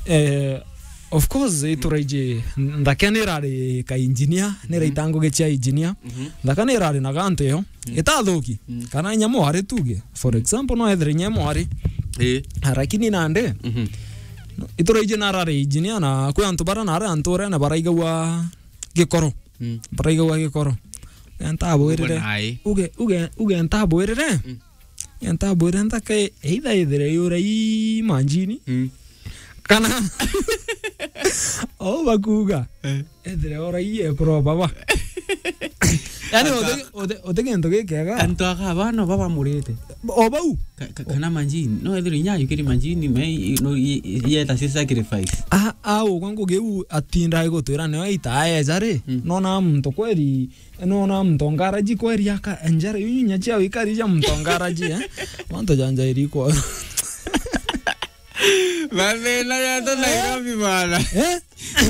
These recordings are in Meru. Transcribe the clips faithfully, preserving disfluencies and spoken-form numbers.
Eh, of course, ituraiji, nthaka nirari ka engineer, niraita ngugi cia engineer. Mhm. Nthaka nirari na gantu yo, itathuki. Mm. Kana inya mwari tuge. For example, no ethire inya mwari. Eh. Ah, lakini nande, mhm, ituraiji narari engineer na kwi antu bara nari antu urene baraigagua gikoro. Mm. Baraigagua gikoro. Ntabwirire. Uge, uge, uge ntabwirire. Mm. Ntabwire nthaka either ithire yura i manjini. Mm. Kana o bakuga. Eh. Ethire ora i ekuru baba. Yani, antu uti-, uti-, uti kintu gikega. Antu aka bano baba murite. O bau. Ka-, ka-, kana manjini. No ethire inya yukiri manjini, me i-, no i-, i-, yeta si sacrifice. A, a, ugwa ngugi u atinda igutwira nio ita aeja ri. Mm. Nona muntu kweri Nona mtongaraji kweri aka enjera yu nya cia wikari ja mtongaraji, eh? Mantu janja irikwa. Mathina ya to Nairobi bana. Eh?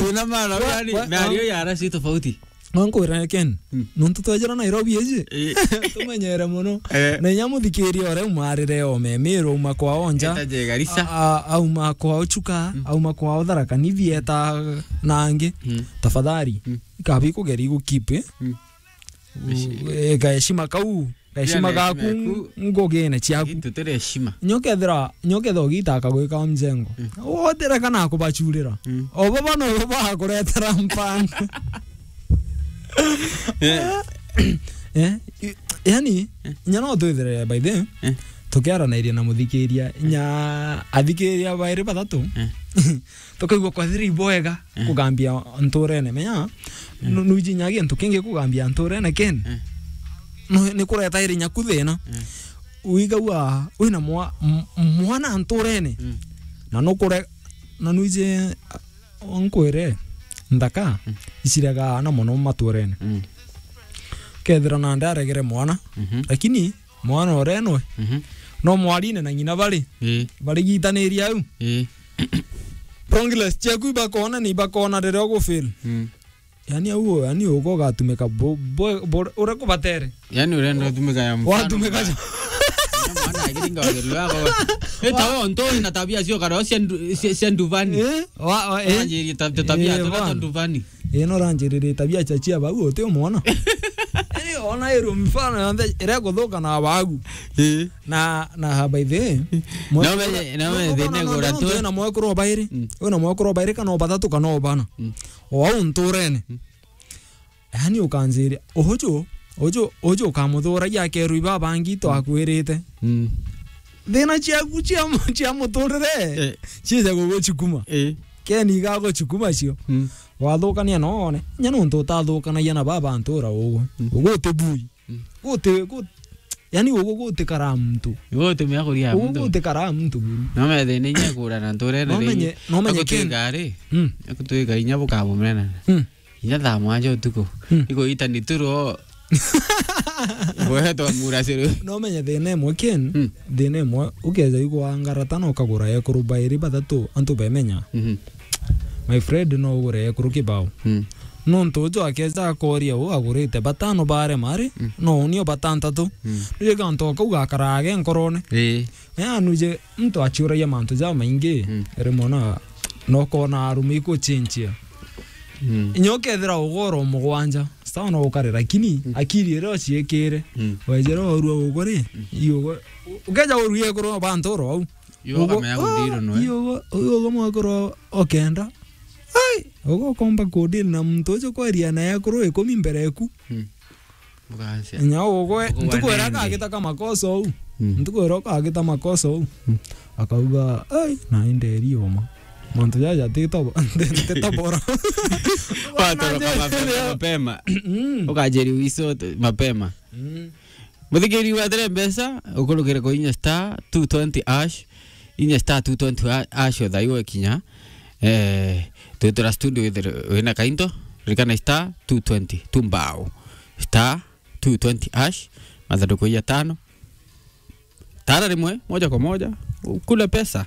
Kuna mara Wa-, yani wa-, na wa-, rio ya rasi tofauti. Wankwira Ken, mm, nontu twejera Nairobi eje. Eh. Tumenyere muno. Eh. Na inya muthikiria ore umarire o memiro uma kwa onja. Eta je Garissa. A-, a-, auma kwa ochuka, mm, auma kwa otharaka nithi eta nangi. Mm. Tafadhali. Mm. Ikabi kugeri gukeep, eh? Mm. Ika heshima kau, ka heshima gaku ngugine ciaku. Tutire heshima. Nyokethira, nyokethira ugita akagwika mjengo. Mm. Wotere kana akubachurira. Mm. O baba no baba akuretera mpango. Eh. Eh, i-, yani, eh, nya no twithire by the way, eh, tukiaranairia na muthikiria, nya athikiria bairi bathatu. Eh. Tukaigua kwathira iboega, eh, kugambia nturene. Menya, eh, nu-, nuiji nya gintu kingi kugambia nturene Ken. Eh. Nu-, ni kureta iri nyaku thina. Eh. Uigagua wina mwa-, m-, mwana nturene. Mm. Na nukure-, na nuiji, a, nkwire, nthaka, mm, iciraga ana mono maturene. Mm. Kethira nande aregere mwana, mhm, lakini mwana urenwe, mhm, no mwarine na ng'ina bari, ii, barigitaniri au. Ii. Progress ciaku ibakona ni ibakona riria ugufeel. Mm. Yani au, yani ugo ugatumika bo-, bo-, bo-, uria kubatere. Yani urenda utumika ya mfano. Watumika mbaya. Ja- Mwana akiringa wageni wako. Eta wo ntoi na tabia cio karo cia ndu-, cia, cia nduvani. Eh? Wa, wa, eh? Wanjiri ta-, ta-, tabia, eh, tabia cia nduvani. Ii, no ranjirire tabia cia cia bau, uti umwona? Ii, ona iru mfano yonthe iria kuthuka na bagu. Ii. Na, na by the way, no menye, no menye thina igura tu. Wina mwekuru o bairi, mm, wina mwekuru o bairi kana o bathatu kana o bana. Mm. O au nturene. Mm. Yani ukanjiria, uju, uju, uju ukamuthuragia akeru ibabangi twakwirite. Mm. Thina ciaku cia mu-, cia muturire, eh, ciija gugucikuma. Eh. Keni igagucikuma cio. Mm. Wathukania no one. Nya nontu utathukanagia na baba ntura ugu. Mm. Ugu uti bui. Mm. Guti, gu-, yani ugu gutikara muntu. Ugu uti mia kuria muntu. Ugu gutikara muntu buru. No methe ni inya kura na nturene. No menye, no menye akutwika ri. Mm. Akutwika inya bukamumena. Mm. Inya thaa mwanja utuku. Mm. Iko ita ni turo. Gwetwa muraciri. No menye thina imwe Ken, mm, thina imwe, ukeja igwa ngarata na ukagura ekuru bairi bathatu antu bemenya. Mhm. My friend, no ugure ekuru kibao. Mm. Nontu uju akeja akoria u agurite batano bare mari, mm, no unio batantatu. Mm. Riri gantu kau gakarage nkorone. Ii. Yaani uje muntu aciuragia mantu jamaingi, mm, rimwe na, na ukona arume ikuchinchia. Mm. Inya ukethira ugoro mugwanja, sawa no ukare, lakini, mm, akiri iria uciikire, mm, wejera urua uguri, mm, iugo, ukeja uruie kuru bantu oro au. Iyo ugo-, kamenya ah, gutiro noe. Iyo ugo, iyo ugo mwakuru okenda. Ai, ugo komba kudiri na muntu ucio kwaria na ekuru ikumi mbere eku. Mm. Ugacia. Nya ugwe, ugo ntuku ira wanene. Akagita ka makosa uu. Mm. Ntuku ira akagita makosa uu. Mm. Akauga, "Ai, na inderi uma. Mantu jaja tito, tito bora." Watoroka mapema, mapema. Mm. Ukajeri wiso mapema. Mm. Muthikiri wa Tere Mbeca, ukurukire kuinya star two twenty hash. Inya star two twenty ha-, hash o thaiwe kinya. Eh, twitira studio withire wina kainto, ririkana star two twenty, tumbao. Star two twenty hash, mathanduku ya tano. Tara rimwe, moja kwa moja, ukule pesa.